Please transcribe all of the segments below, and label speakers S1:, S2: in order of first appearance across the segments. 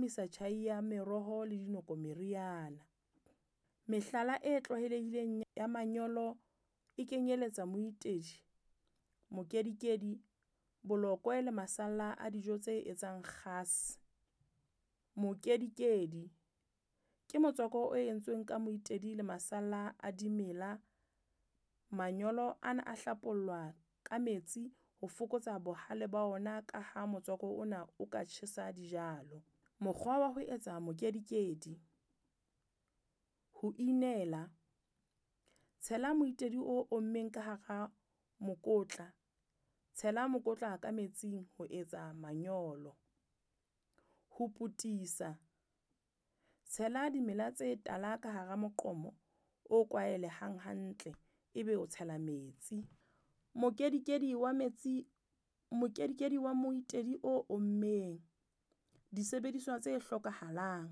S1: phahamisa tjhai ya meroho le dinoko meriana. Mehlala e tlwaelehileng ya manyolo e kenyeletsa moitedi, mokedikedi, bolokwe le masalla a dijo tse etsang kgase. Mokedikedi ke motswako o entsweng ka moitedi le masalla a dimela. Manyolo ana a hlapollwa ka metsi ho fokotsa bohale ba ona ka ha motswako ona o ka tjhesa dijalo. Mokgwa wa ho etsa mokedikedi. Ho inela, tshela moitedi o ommeng ka hara mokotla, tshela mokotla ka metsing ho etsa manyolo. Ho potisa, tshela dimela tse tala ka hara moqomo o kwahelehang hantle, ebe o tshela metsi. Mokedikedi wa metsi, mokedikedi wa moitedi o ommeng. Disebediswa tse hlokahalang.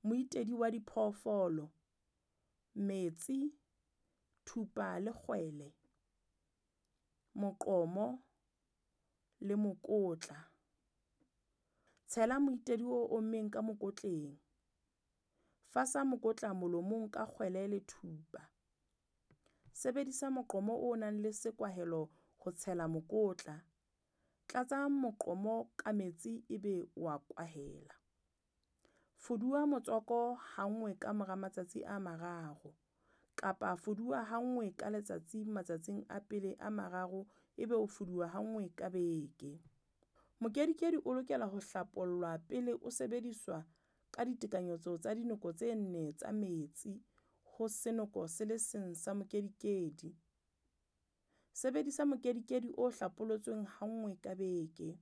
S1: Moitedi wa diphoofolo, metsi, thupa le kgwele, moqomo le mokotla. Tshela moitedi o ommeng ka mokotleng. Fasa mokotla molomong ka kgwele le thupa. Sebedisa moqomo o nang le sekwahelo ho tshela mokotla. Tlatsa moqomo ka metsi ebe wa kwahela. Fuduwa motswako ha nngwe ka mora matsatsi a mararo kapa fuduwa ha nngwe ka letsatsi matsatsing a pele a mararo ebe o fuduwa ha nngwe ka beke. Mokedikedi o lokela ho hlapollwa pele o sebediswa ka ditekanyetso tsa dinoko tse nne tsa metsi ho senoko se le seng sa mokedikedi. Sebedisa mokedikedi o hlapolotsweng ha nngwe ka beke.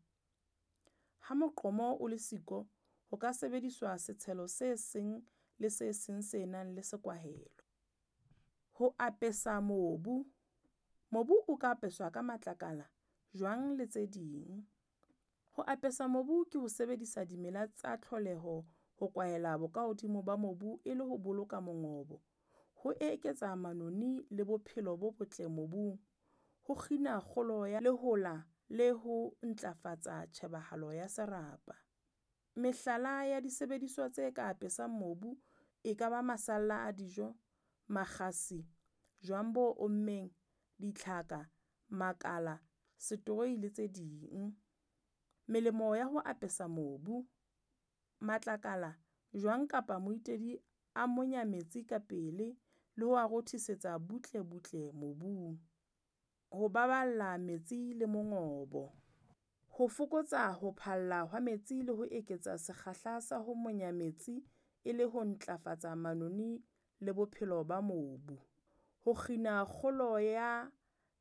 S1: Ha moqomo o le siko, ho ka sebediswa setshelo se seng le se seng se nang le sekwahelo. Ho apesa mobu. Mobu o ka apeswa ka matlakala, jwang le tse ding. Ho apesa mobu ke ho sebedisa dimela tsa tlholeho ho kwahela bokahodimo ba mobu e le ho boloka mongobo, ho eketsa manoni le bophelo bo botle mobung, ho kgina kgolo ya lehola le ho ntlafatsa tjhebahalo ya serapa. Mehlala ya disebediswa tse ka apesang mobu e ka ba masalla a dijo, makgasi, jwang bo ommeng, ditlhaka, makala, setroi le tse ding. Melemo ya ho apesa mobu. Matlakala, jwang kapa moitedi a monya metsi ka pele le ho a rothisetsa butle butle mobung. Ho baballa metsi le mongobo. Ho fokotsa ho phalla hwa metsi le ho eketsa sekgahla sa ho monya metsi e le ho ntlafatsa manoni le bophelo ba mobu. Ho kgina kgolo ya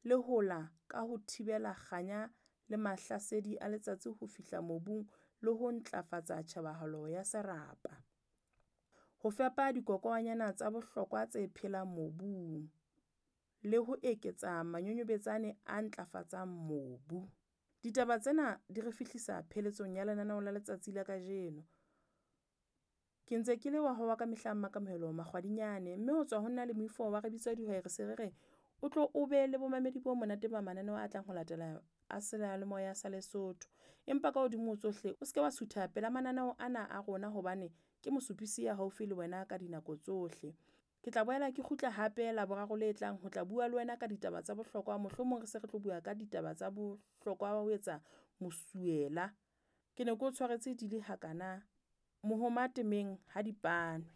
S1: lehola ka ho thibela kganya le mahlasedi a letsatsi ho fihla mobung le ho ntlafatsa tjhebahalo ya serapa. Ho fepa dikokwanyana tsa bohlokwa tse phelang mobung le ho eketsa manyonyobetsane a ntlafatsang mobu. Ditaba tsena di re fihlisa pheletsong ya lenaneo la letsatsi la kajeno. Ke ntse ke le wa hao wa ka mehla Mmakamohelo Makgwadinyane, mme ho tswa ho nna le moifo wa re bitsa dihwai re se re re o tlo o be le bomamedi bo monate ba mananeo a tlang ho latela a seyalemoya sa Lesotho. Empa ka hodimo ho tsohle o seke wa sutha pela mananeo ana a rona hobane ke mosupisi ya haufi le wena ka dinako tsohle. Ke tla boela ke kgutla hape Laboraro le tlang ho tla bua le wena ka ditaba tsa bohlokwa, mohlomong re se re tlo bua ka ditaba tsa bohlokwa ba ho etsa mosuwela. Ke ne ke o tshwaretse di le hakana, mohoma temeng ha di panwe.